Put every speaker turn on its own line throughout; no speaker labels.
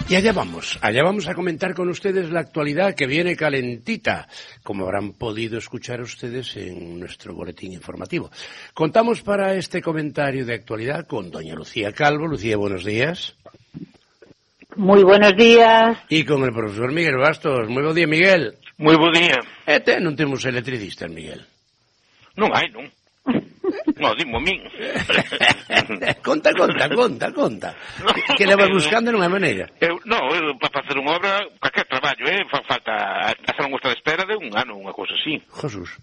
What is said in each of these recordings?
Y allá vamos a comentar con ustedes la actualidad que viene calentita, como habrán podido escuchar ustedes en nuestro boletín informativo. Contamos para este comentario de actualidad con doña Lucía Calvo. Lucía, buenos días.
Muy buenos días.
Y con el profesor Miguel Bastos. Muy buen día, Miguel.
Moi bo día.
Non temos electricistas, Miguel.
Non hai, non. No, dimo a min.
Conta. Que levas buscando non hai maneira.
Eu para facer unha obra, calquer traballo, falta hacer unha lista de espera de un ano, unha cousa así.
Jesús.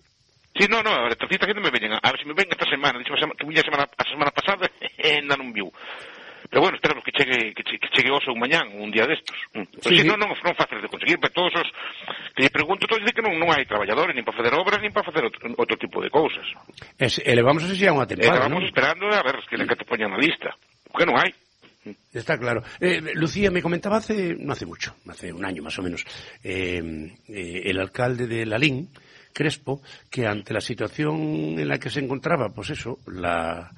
Sí, no, a electricista que non me veñen. A ver se me ven esta semana. Dixo que viña a semana pasada e ainda non viu. Pero bueno, esperamos que chegue hoxe ou mañán, un día destos. Pero sí, non fácil de conseguir, pero todos os que lle pregunto, todos dicen que non hai traballadores, nin para facer obras, nin para facer outro tipo de cousas.
Elevamos así a unha tempada,
non? Vamos esperando a ver que te poñan na lista, porque non hai.
Está claro. Lucía, me comentaba no hace mucho, hace un año más o menos, el alcalde de Lalín, Crespo, que ante la situación en la que se encontraba, pues eso, la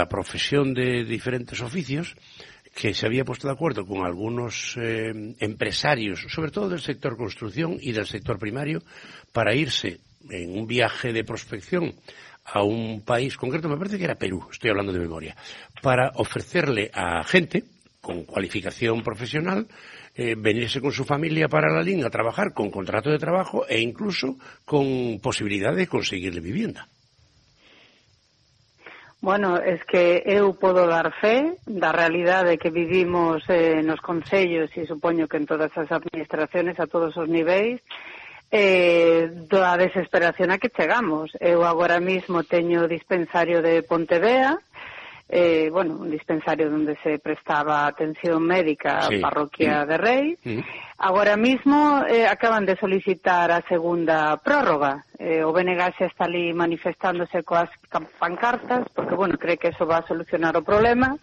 profesión de diferentes oficios, que se había puesto de acuerdo con algunos empresarios, sobre todo del sector construcción y del sector primario, para irse en un viaje de prospección a un país concreto, me parece que era Perú, estoy hablando de memoria, para ofrecerle a gente con cualificación profesional venirse con su familia para Lalín a trabajar con contrato de trabajo e incluso con posibilidad de conseguirle vivienda.
Bueno, es que eu podo dar fe da realidade que vivimos nos concellos e supoño que en todas as administraciones a todos os niveis da desesperación a que chegamos. Eu agora mismo teño dispensario de Pontevea, un dispensario onde se prestaba atención médica a parroquia de Rei. Agora mismo acaban de solicitar a segunda prórroga. O BNG xa está ali manifestándose coas pancartas, porque, cree que eso va a solucionar o problema,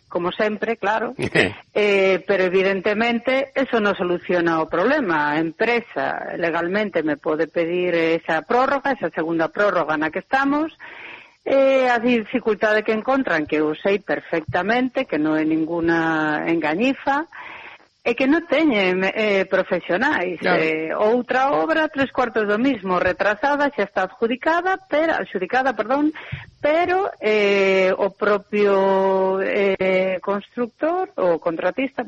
como sempre, claro, pero evidentemente eso non soluciona o problema. A empresa legalmente me pode pedir esa prórroga, esa segunda prórroga na que estamos, a dificultade que encontran, que eu sei perfectamente, que non é ninguna engañifa, é que non teñen profesionais. Outra obra, 3/4 do mismo, retrasada, xa está adjudicada, pero o propio constructor, o contratista,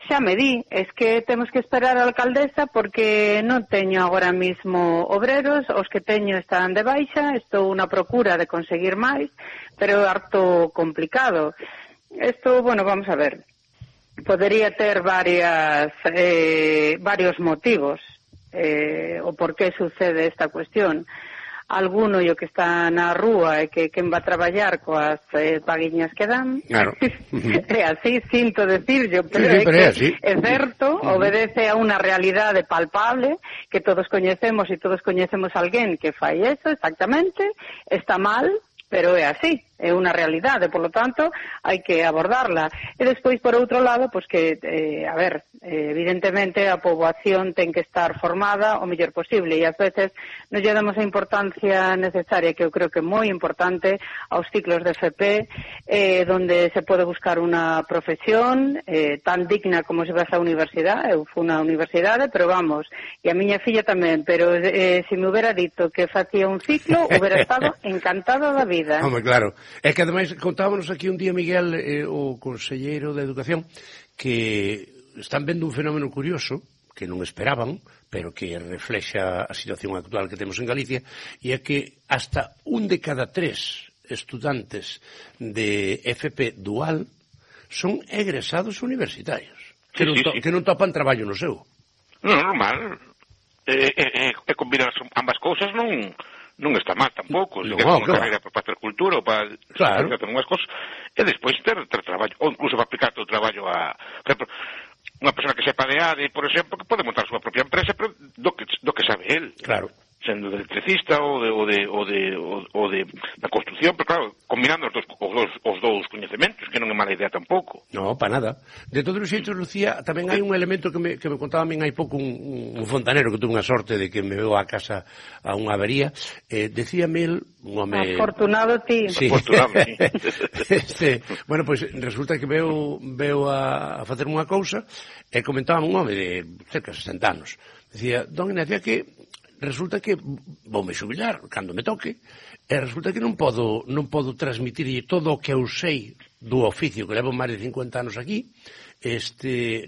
xa me di, es que temos que esperar a alcaldesa porque non teño agora mismo obreros, os que teño están de baixa, estou unha procura de conseguir máis, pero é harto complicado. Isto, vamos a ver. Podería ter varios motivos o por que sucede esta cuestión. Alguno o que está na rúa é que quen va a traballar coas paguiñas que dan.
Claro.
É así, sinto decirlo, pero é certo, obedece a unha realidade palpable que todos coñecemos e todos coñecemos alguén que fai eso, exactamente, está mal, pero é así. É unha realidade, por lo tanto, hai que abordarla. E despois, por outro lado, evidentemente a poboación ten que estar formada o mellor posible e ás veces non lle damos a importancia necesaria, que eu creo que é moi importante, aos ciclos de FP, donde se pode buscar unha profesión tan digna como se vas á universidade. Eu fui na universidade, pero e a miña filla tamén, pero se me hubiera dito que facía un ciclo, hubiera estado encantada da vida.
Home, claro. É que, ademais, contábamos aquí un día, Miguel, o conselleiro de Educación, que están vendo un fenómeno curioso, que non esperaban, pero que reflexa a situación actual que temos en Galicia, e é que hasta 1 de cada 3 estudantes de FP dual son egresados universitarios, que non topan traballo no seu.
Non, normal. Combinar ambas cousas non está mal tampouco, se queres unha carreira para facer cultura ou para facer unhas cosas, e despois ter traballo, ou incluso para aplicar o traballo a, por exemplo, unha persona que sepa de ADE, por exemplo, que pode montar a súa propia empresa, pero do que sabe el.
Claro.
Sendo de electricista ou de da construcción, pero claro, combinando os dous coñecementos, que non é mala idea tampouco.
No, para nada. De todos os xeitos, Lucía, tamén hai un elemento que me contaba a min hai pouco un fontanero que tuvo unha sorte de que me veo a casa a unha avería. Decíame el, un home...
Afortunado ti.
Sí.
Afortunado, sí.
Bueno, pois resulta que veo a facer unha cousa e comentaba un home de cerca de 60 anos. Decía, don Ignacio, que resulta que voume xubilar cando me toque e resulta que non podo transmitir todo o que eu sei do oficio, que levo máis de 50 anos aquí,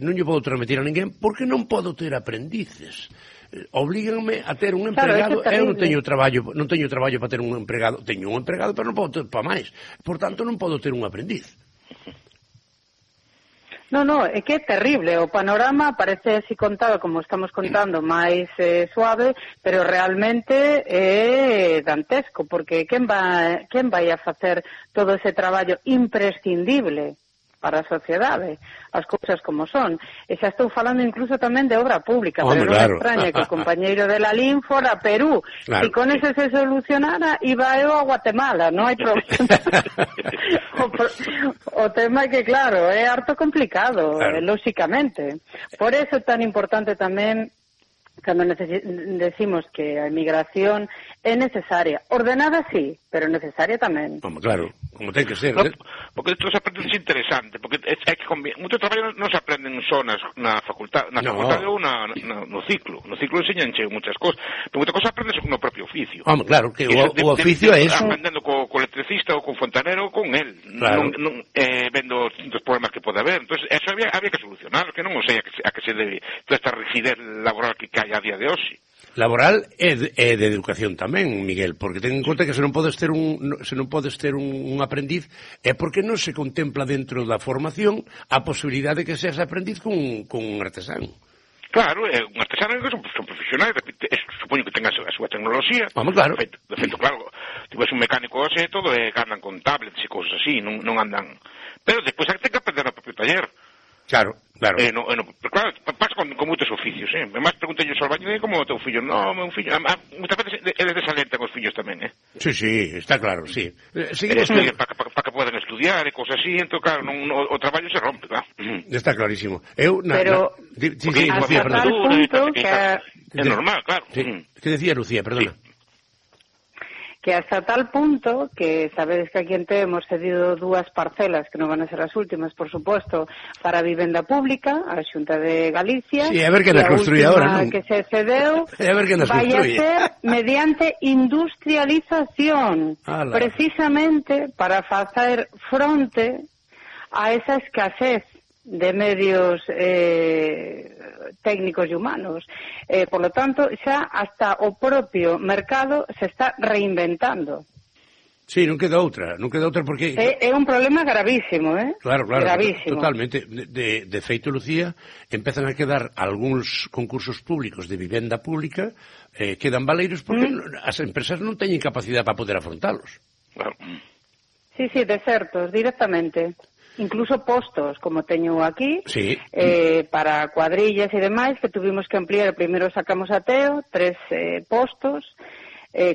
non lle podo transmitir a ninguén porque non podo ter aprendices. Oblíganme a ter un empregado, eu non teño traballo para ter un empregado, teño un empregado, pero non podo ter para máis. Por tanto, non podo ter un aprendiz.
No, é que é terrible. O panorama parece así contado como estamos contando, máis suave, pero realmente é dantesco, porque quen vai a facer todo ese traballo imprescindible para a sociedade, as cousas como son. E xa estou falando incluso tamén de obra pública, pero non me extraña que o compañeiro de Lalín fora a Perú. Claro. E con eso se solucionara, iba eu a Guatemala, non hai problema. O tema é que, claro, é harto complicado, claro. Lóxicamente. Por eso é tan importante tamén cando decimos que a emigración é necesaria. Ordenada sí, pero necesaria tamén.
Claro, como ten que ser.
No, porque isto se aprende é interesante, porque é que moito traballo non se aprenden só na facultade, ou no ciclo. No ciclo enseñanche muchas cosas, pero moita cosa aprendes no propio oficio.
Claro, que o oficio é eso.
Aprendendo co electricista ou co fontanero ou con él, claro. Vendo os problemas que pode haber. Entonces, eso había que solucionar, que non sei a que se debe toda esta rigidez laboral que hai a día de hoxe.
Laboral e de educación tamén, Miguel, porque ten en conta que se non podes ter un aprendiz é porque non se contempla dentro da formación a posibilidade de que seas aprendiz con un artesano.
Claro, un artesano son profesionais, supoño que tenga a súa tecnoloxía.
Claro.
De feito, claro, tivas un mecánico e todo, andan con tablets e cousas así, non andan... Pero despois hai que aprender no propio taller.
Claro.
Pero claro, pasa con moitos oficios, Además, preguntei ao albañil como o teu fillo. Non, meu fillo... Muitas veces eles desalentan os fillos tamén,
Sí, está claro, sí.
Para que podan estudiar e cosas así, entón, claro, o traballo se rompe, claro.
Está clarísimo.
Pero...
Lucía,
perdón.
É normal, claro.
Que decía Lucía, perdona?
Que hasta tal punto que sabedes que aquí en Teo hemos cedido 2 parcelas, que non van a ser as últimas, por suposto, para a vivenda pública, a Xunta de Galicia.
Sí, a ver que nas construye ahora, non?
Que se cedeu vai a ser mediante industrialización, precisamente para facer fronte a esa escasez de medios técnicos e humanos. Por lo tanto, xa hasta o propio mercado se está reinventando.
Sí, non queda outra porque...
É un problema gravísimo,
Claro,
gravísimo.
Totalmente. De feito, Lucía, empezan a quedar algúns concursos públicos de vivenda pública, quedan baleiros porque as empresas non teñen capacidade para poder afrontalos.
Claro.
Sí, desertos, directamente. Incluso postos, como teño aquí,
sí.
Para cuadrillas e demais, que tuvimos que ampliar. Primeiro sacamos a Teo 3 postos,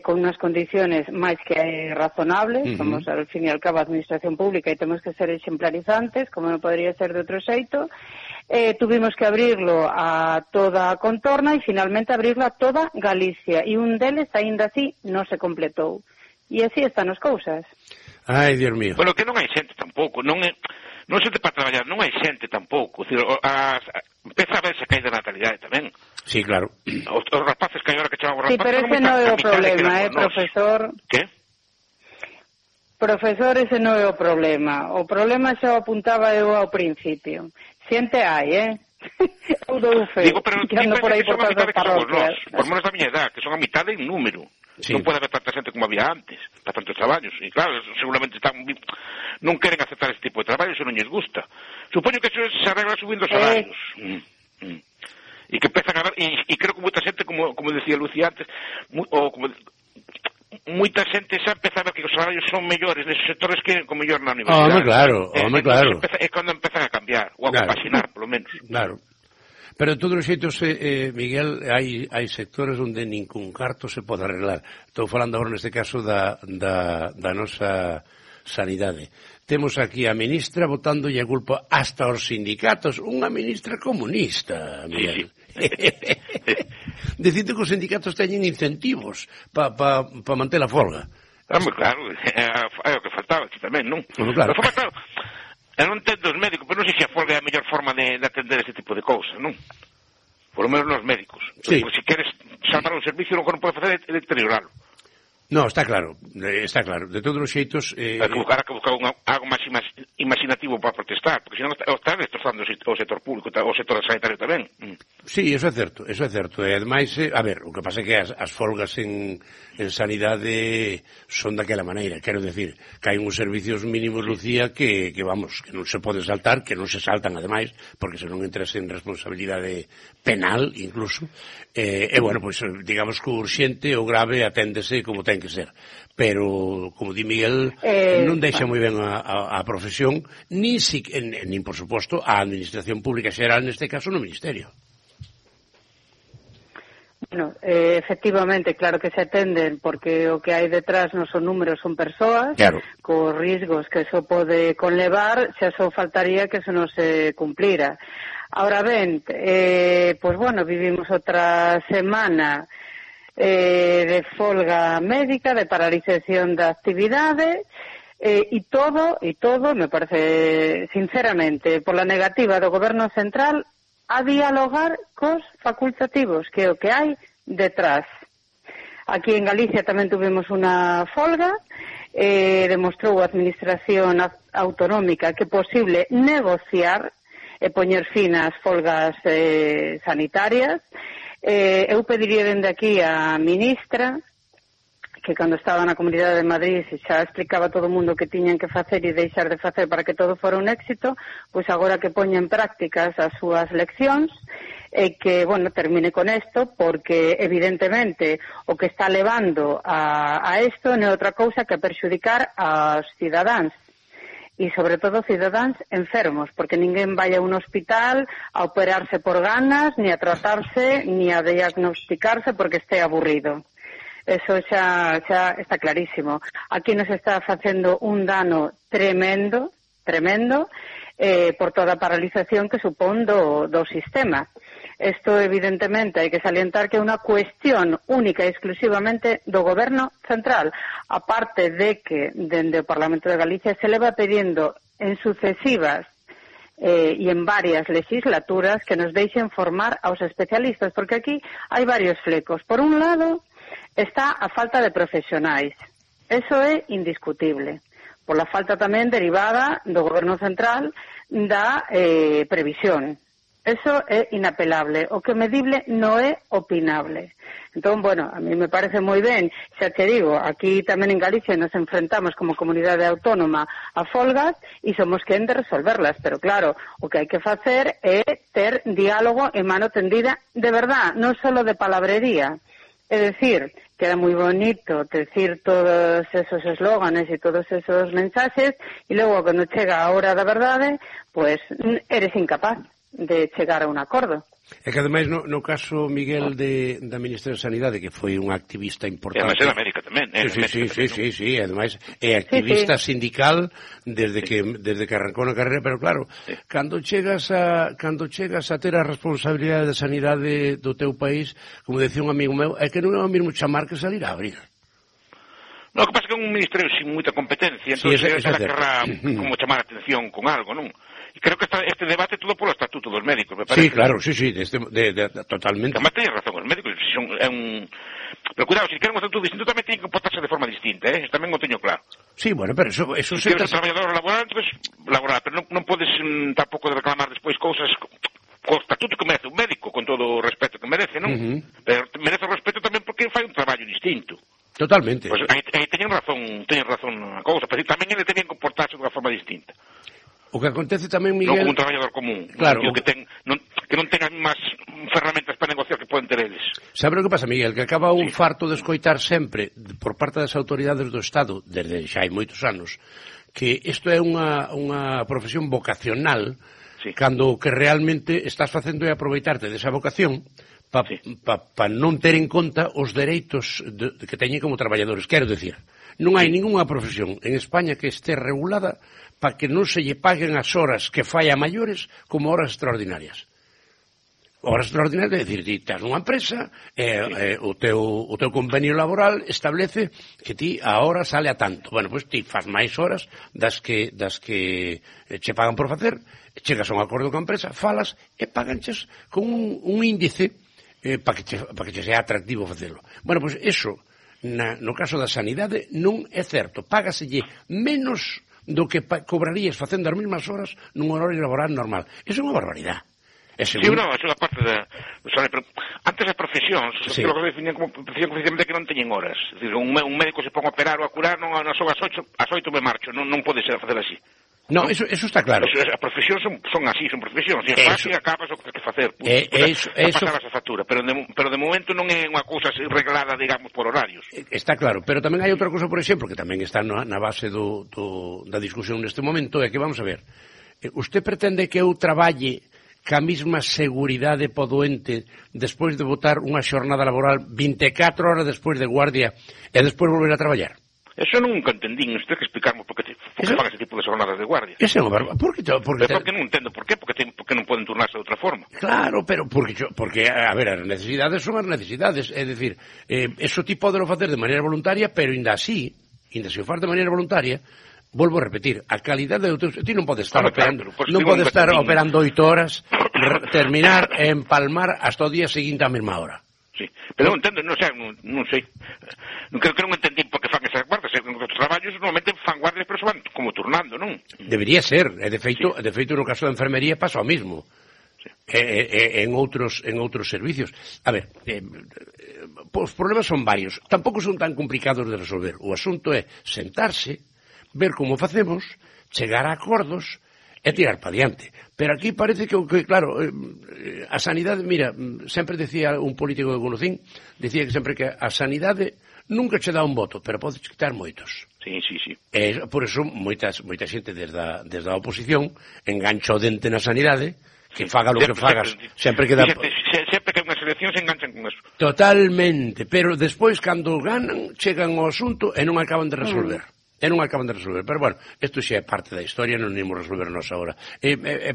con unas condiciones máis que razonables. Somos, al fin e al cabo, administración pública e temos que ser exemplarizantes, como non podría ser de outro xeito. Tuvimos que abrirlo a toda a contorna e finalmente abrirlo a toda Galicia. E un deles, aínda así, non se completou. E así están as cousas.
Ai, Dios mío.
Bueno, que non hai xente tampouco, non xente para traballar, non hai xente tampouco. Empeza a verse que hai de natalidade tamén.
Sí, claro.
Os rapaces que hai ahora que chamamos
Sí,
rapaces...
pero ese non é o problema, profesor?
Que?
Profesor, ese non é o problema. O problema xa o apuntaba eu ao principio. Xente hai, Eu dou fe.
Digo, pero que ando por aí por todas as parroquias. Por menos da miña edad, que son a mitad en número. Sí. Non pode haber tanta xente como había antes, para tantos traballos. E claro, seguramente non queren aceptar este tipo de traballo, se non lles gusta. Supoño que eso se arregla subindo os salarios. E que empezan a ver, e creo que moita xente, como decía Lucía antes, moita xente xa empeza a ver que os salarios son mellores neses sectores que con mellor na universidade.
Claro.
É cando empezan a cambiar, ou a compaxinar, polo menos.
Claro. Pero de todos os xeitos, Miguel, hai sectores onde nin cun carto se pode arreglar. Estou falando agora neste caso da nosa sanidade. temos aquí a ministra botándolle a culpa hasta aos sindicatos, unha ministra comunista, Miguel. Dicite que os sindicatos teñen incentivos para manter a folga.
Claro, é o que faltaba aquí tamén, non?
Claro.
Pero, claro, eu non entendo os médicos, pero non sei se a folga é a mellor forma de atender este tipo de cousas, non? Por lo menos nos médicos.
Sí.
Porque se queres salvar un servicio, o que non pode facer é deterioralo.
No, está claro. De todos os xeitos...
Hai que buscar algo máis imaginativo para protestar, porque senón está destrozando o sector público, o sector sanitario tamén.
Sí, eso é certo. E ademais, a ver, o que pasa é que as folgas en sanidade son daquela maneira. Quero decir, que hai uns servicios mínimos, Lucía, que vamos, que non se pode saltar, que non se saltan, ademais, porque senón entras en responsabilidade penal, incluso. Bueno, pois, digamos que o urxente, o grave, aténdese como ten que ser. Pero, como di Miguel, non deixa moi ben a profesión, nin, por suposto, a administración pública xeral, neste caso, no Ministerio.
Bueno, efectivamente, claro que se atenden, porque o que hai detrás non son números, son persoas,
claro,
cos risgos que eso pode conlevar, xa só faltaría que eso non se cumplira. Ahora ben, pois bueno, vivimos outra semana de folga médica, de paralización da actividade, e todo, me parece, sinceramente, por la negativa do Goberno Central a dialogar cos facultativos, que é o que hai detrás. Aquí en Galicia tamén tuvimos unha folga, demostrou a Administración Autonómica que é posible negociar e poñer fin ás folgas sanitarias. Eu pediría dende aquí a ministra que cando estaba na Comunidade de Madrid xa explicaba a todo o mundo que tiñan que facer e deixar de facer para que todo fora un éxito, pois agora que poña en prácticas as súas leccións e que, bueno, termine con isto, porque evidentemente o que está levando a isto non é outra cousa que perxudicar aos cidadáns e sobre todo cidadáns enfermos, porque ninguén vai a un hospital a operarse por ganas, ni a tratarse, ni a diagnosticarse porque este aburrido. Eso xa está clarísimo. Aquí nos está facendo un dano tremendo, por toda a paralización que supón do sistema. Isto, evidentemente, hai que salientar que é unha cuestión única e exclusivamente do Goberno Central, aparte de que, dende o Parlamento de Galicia, se leva pedindo en sucesivas e en varias legislaturas que nos deixen formar aos especialistas, porque aquí hai varios flecos. Por un lado, está a falta de profesionais. Eso é indiscutible. Por la falta tamén derivada do Goberno Central da previsión. Eso é inapelable. O que é medible non é opinable. Entón, bueno, a mí me parece moi ben. Xa te digo, aquí tamén en Galicia nos enfrentamos como comunidade autónoma a folgas e somos quen de resolverlas. Pero claro, o que hai que facer é ter diálogo e mano tendida de verdad, non só de palabrería. É dicir, queda moi bonito decir todos esos eslóganes e todos esos mensaxes e logo, cando chega a hora da verdade, pues eres incapaz de chegar a un acordo.
É que, ademais, no caso, Miguel, da Ministra de Sanidade, que foi unha activista importante...
E ademais en América tamén.
Sí, ademais é activista sindical desde que arrancou na carreira, pero claro, cando chegas a ter a responsabilidade de sanidade do teu país, como decía un amigo meu, é que non é o mesmo chamar que salir a abrir.
No, o que pasa é que é un ministerio sin moita competencia, entón ela querrá como chamar a atención con algo, non? E creo que este debate todo polo estatuto dos médicos, me parece.
Sí, claro, sí, totalmente.
Además teñen razón, os médicos é un... Pero cuidado, se queren un estatuto distinto tamén teñen que comportarse de forma distinta, Eso tamén o teño claro.
Sí, bueno, pero eso
se... queres ser traballador laboral, pues laboral, pero non podes tampouco de reclamar despois cousas co estatuto que merece un médico, con todo o respeto que merece, non? Pero merece o respeto tamén porque fai un traballo distinto.
Totalmente.
Pues aí teñen razón na cousa, pero tamén ele teñen que comportarse de unha forma distinta.
O que acontece tamén, Miguel...
Non como un traballador común,
claro,
que non tengan máis ferramentas para negociar que poden ter eles.
Sabe o que pasa, Miguel? Que acaba un farto de escoitar sempre, por parte das autoridades do Estado, desde xa hai moitos anos, que isto é unha profesión vocacional, cando que realmente estás facendo é aproveitarte desa vocación para non ter en conta os dereitos que teñen como traballadores. Quero decir, non hai ningunha profesión en España que este regulada para que non se lle paguen as horas que fai a maiores como horas extraordinarias. Horas extraordinarias, é dicir, ti tens unha empresa, o teu convenio laboral establece que ti a hora sale a tanto. Bueno, pois ti faz máis horas das que che pagan por facer, chegas a un acordo con a empresa, falas e paganches con un índice para que che sea atractivo facelo. Bueno, pois eso, no caso da sanidade, non é certo. Págaselle menos do que cobrarías facendo as mesmas horas nun horario laboral normal. Eso é unha barbaridade.
Sí, eso é parte da... Antes as profesións, os psicólogos definían como profesión precisamente que non teñen horas. É dicir, un médico se pon a operar ou a curar, non son as 8 me marcho, non pode ser a facer así.
No, eso está claro.
As profesións son así, son profesións. E as fácil acabas o que tens que facer. Pasabas a factura. Pero de momento non é unha cousa reglada, digamos, por horarios.
Está claro. Pero tamén hai outra cousa, por exemplo, que tamén está na base da discusión neste momento, é que, vamos a ver, usted pretende que eu traballe ca mesma seguridade po doente despois de botar unha xornada laboral 24 horas despois de guardia e despois volver a traballar?
Eso nunca entendín, isto hai que explicarme por que fan ese tipo de jornadas de guardia.
Ese é unha barba. Porque
non entendo por qué, porque non poden turnarse de outra forma.
Claro, pero porque a ver, as necesidades son as necesidades, é dicir, eso ti podelo facer de maneira voluntaria, pero ainda se o faz de maneira voluntaria, volvo a repetir, a calidade do teu... Ti non podes estar operando 8 horas, terminar e empalmar hasta o día seguinte á mesma hora.
Sí, pero non entendo, non sei. Creo que non entendí por que fan esas guardas. En outros traballos normalmente fan guardias, pero se van como turnando, non? Debería
ser, e de feito no caso da enfermería pasa o mismo. Sí. En outros servicios. A ver, os problemas son varios. Tampouco son tan complicados de resolver. O asunto é sentarse, ver como facemos, chegar a acordos e tirar para diante. Pero aquí parece que claro, a sanidade, mira, sempre decía un político que conocín, decía que sempre que a sanidade nunca che dá un voto, pero podes quitar moitos.
Sí.
E por eso moita xente desde a oposición engancha o dente na sanidade, que faga lo que fagas, sempre que dá...
Sempre que hai unha selección se enganchan con eso.
Totalmente, pero despois, cando ganan, chegan ao asunto e non acaban de resolver. Pero bueno, isto xa é parte da historia, non imos resolver nos agora.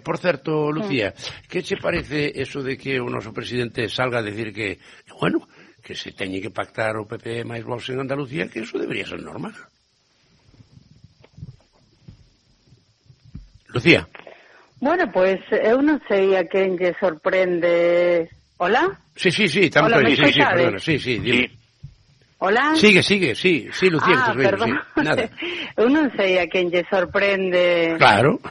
Por certo, Lucía, que che parece eso de que o noso presidente salga a decir que, bueno, que se teñe que pactar o PP máis Vox en Andalucía, que eso debería ser normal? Lucía.
Bueno, pues eu non sei a quen lle sorprende... Hola?
Sí, estamos aí, perdona, sí, dime.
Hola?
Sigue, sí, Lucía,
perdón.
Sí, nada.
Eu non sei a quen lle sorprende.
Claro.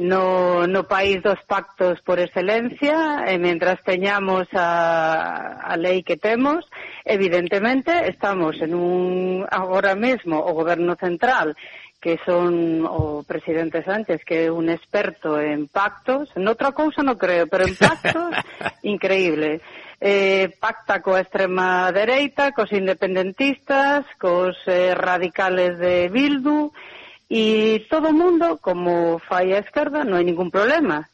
No país dos pactos por excelencia, e mentras teñamos a lei que temos, evidentemente estamos en agora mesmo o goberno central, que son o presidente Sánchez, que é un experto en pactos, noutra cousa non creo, pero en pactos, increíble. Pacta coa extrema dereita, cos independentistas, cos radicales de Bildu, e todo o mundo, como fai a esquerda, non hai ningún problema.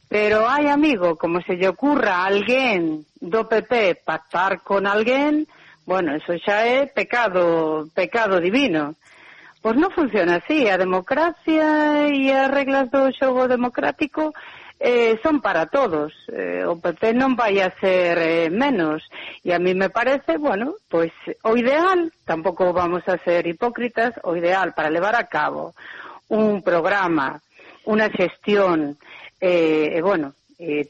Pero hai, amigo, como se lle ocurra a alguén do PP pactar con alguén, bueno, eso xa é pecado divino. Pois non funciona así, a democracia e as reglas do xogo democrático son para todos, o PP non vai a ser menos, e a mí me parece, bueno, pois o ideal, tampouco vamos a ser hipócritas, o ideal para levar a cabo un programa, unha xestión, bueno,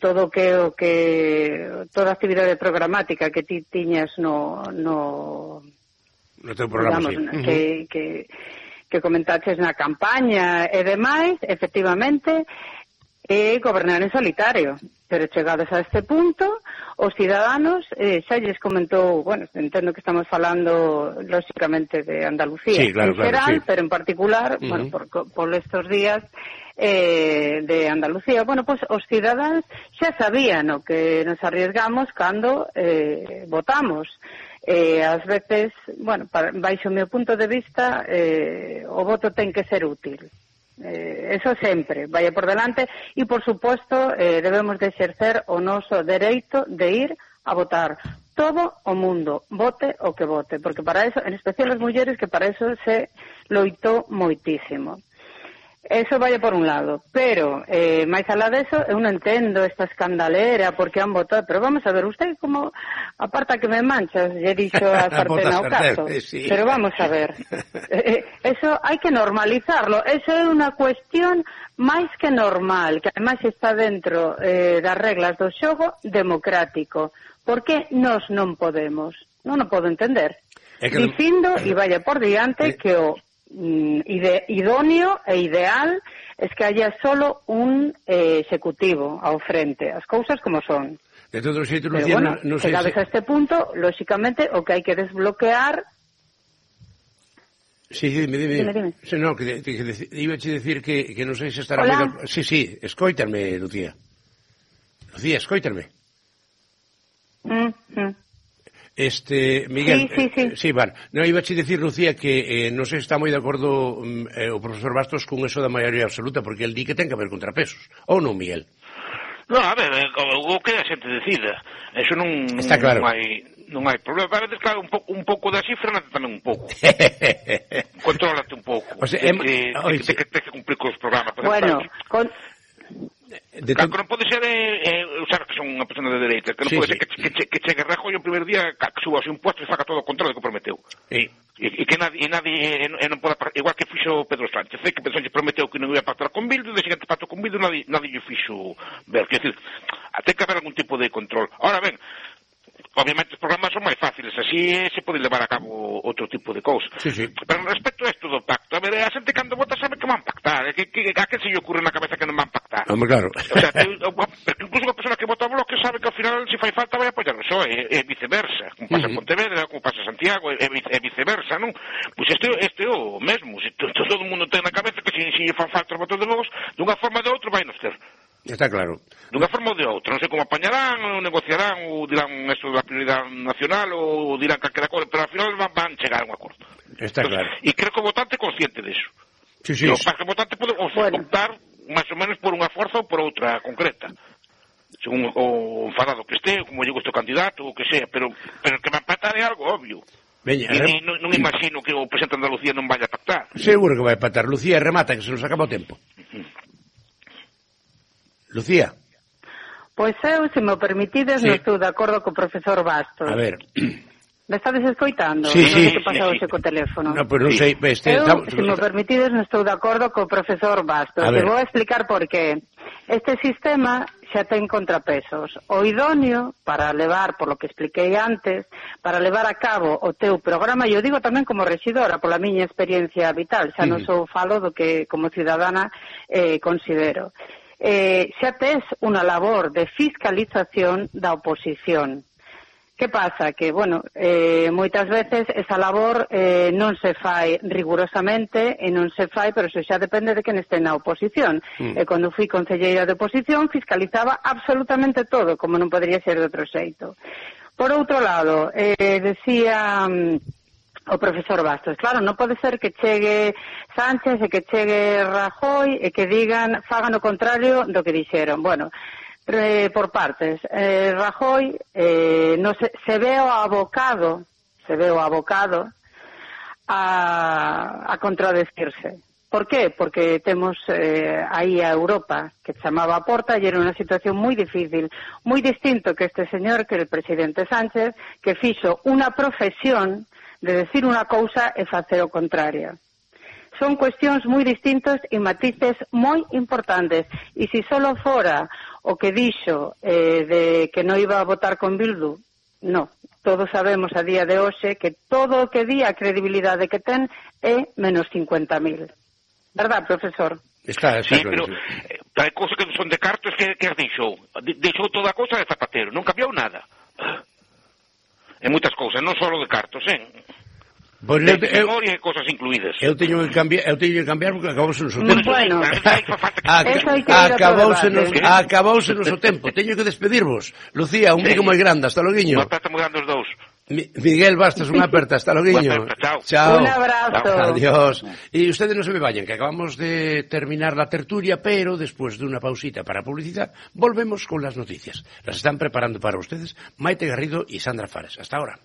todo toda a actividade programática que ti tiñas no
teu programa,
digamos, sí. que comentaches na campaña e demais, efectivamente, é gobernar en solitario, pero chegados a este punto, os ciudadanos, xa lles comentou, bueno, entendo que estamos falando lógicamente de Andalucía,
sí, claro,
en xeral,
sí.
Pero en particular, bueno, por estos días de Andalucía, bueno, pues os ciudadanos xa sabían o que nos arriesgamos cando votamos. Ás veces, bueno, baixo o meu punto de vista, o voto ten que ser útil. Eso sempre, vaya por delante, e por suposto debemos de exercer o noso dereito de ir a votar. Todo o mundo, vote o que vote, porque para eso, en especial as mulleres, que para eso se loitou moitísimo. Eso vaya por un lado, pero máis alá deso, eu non entendo esta escandalera porque han votado, pero vamos a ver, usted como aparta que me manchas, lle dixo a Sartén ao caso, sí. Pero vamos a ver, eso hai que normalizarlo, eso é unha cuestión máis que normal, que ademais está dentro das reglas do xogo democrático, porque nós non podemos, non o podo entender, dicindo, e vaya por diante, que o idóneo e ideal es que haya solo un ejecutivo ao frente, as cousas como son.
De todo xeito,
Lucía, bueno, no sei chegados a este punto, lóxicamente, o que hai que desbloquear.
Sí, dime. Sí, no, que iba a decir que non sei se estará...
Hola.
Sí, escóitarme, Lucía. Lucía, escóitarme. Miguel, sí, vale. Non, iba a dicir, Lucía, que non sei se está moi de acordo o profesor Bastos con eso da maioría absoluta, porque el di que ten que haber contrapesos, ou non, Miguel?
Non, a ver, o que a xente decida, eso non claro. non hai problema, a veces, claro, un pouco da cifra, tamén un pouco. Contrólate un pouco.
O sea,
que cumplir con os programas.
Bueno,
Claro, que non pode ser, sabes que son unha persona de dereita, que non pode ser que chegue Rajoy o primer día, que suba os impuestos e faga todo o control que prometeu. E que nadie non poda, igual que fixo Pedro Sánchez, que Pedro Sánchez prometeu que non ia pactar con Bildu, e de seguinte pacto con Bildu nadie lle fixo ver, quer decir, ten que haber algún tipo de control. Ahora ben, obviamente os programas son máis fáciles, así se pode levar a cabo outro tipo de cousas.
Sí.
Pero respecto a isto do pacto, a ver, a xente cando vota sabe que van pactar, a que se lle ocurre na cabeza que non van pactar?
Hombre, claro.
O sea, porque incluso unha persona que vota a Bloque sabe que ao final, se fai falta, vai apoiar o PSOE, e viceversa, como pasa en Pontevedra, como pasa en Santiago, e viceversa, non? Pois este é o mesmo, se todo o mundo ten na cabeza que se fan falta os votos de Vox, dunha forma ou de outra vai nos ter.
Está claro.
Dunha forma ou de outra, non sei como apañarán, ou negociarán, ou dirán eso da prioridade nacional, ou dirán calquera cosa, pero ao final van chegar a un acordo.
Está claro.
E creo que o votante é consciente disso.
Sí.
O votante pode optar máis ou menos por unha forza ou por outra concreta. Según o enfadado que este, como lle gusta o candidato, o que sea, pero que va a empatar é algo obvio.
Veña,
non imagino que o presidente de Andalucía non vaya a pactar.
Seguro que vai a empatar. Lucía, remata, que se nos acaba o tempo. Lucía.
Pois eu, se me permitides, non estou de acordo co profesor Bastos.
A ver.
Me estades escoitando?
Sí.
Non sei que pasaba ese co teléfono.
No, pero non sei.
Eu, se me permitides, non estou de acordo co profesor Bastos. Te vou explicar por qué. Este sistema xa ten contrapesos. O idóneo para levar, por lo que expliquei antes, para levar a cabo o teu programa, e eu digo tamén como rexidora, pola miña experiencia vital, xa non sou falo do que como ciudadana considero. Xa tes unha labor de fiscalización da oposición. Que pasa? Que, bueno, moitas veces esa labor non se fai rigurosamente e non se fai, pero eso xa depende de quen este na oposición. E cando fui concelleira de oposición fiscalizaba absolutamente todo, como non podría ser de outro xeito. Por outro lado, decía o profesor Bastos, claro, non pode ser que chegue Sánchez e que chegue Rajoy e que digan, fagan o contrario do que dixeron. Bueno, por partes. Rajoy se veo abocado a contradecirse. ¿Por qué? Porque temos aí a Europa que chamaba a porta e era unha situación moi difícil, moi distinto que este señor, que é o presidente Sánchez, que fixo unha profesión de decir unha cousa e facer o contrario. Son cuestións moi distintas e matices moi importantes. E se solo fora o que dixo de que non iba a votar con Bildu, no. Todos sabemos a día de hoxe que todo o que di a credibilidade que ten é menos 50.000. Verdad, profesor?
Está
sí, pero hai cousas que son de cartos que deixou. Deixou toda a cousa de Zapatero, non cambiou nada. En moitas cousas, non só de cartos,
Pois
memoria e cosas incluídas.
Eu teño que cambiar porque acabouse o noso tempo.
Bueno,
acabouse o noso tempo. Teño que despedirvos. Lucía, un bico moi grande, hasta loguiño.
Unha aperta moi grande os dous.
Miguel Bastos, unha aperta, hasta loguiño.
Chao.
Un abrazo.
Adiós. E ustedes non se me vayan, que acabamos de terminar la tertulia, pero después de unha pausita para publicidad, volvemos con las noticias. Las están preparando para ustedes Maite Garrido y Sandra Fares. Hasta ahora.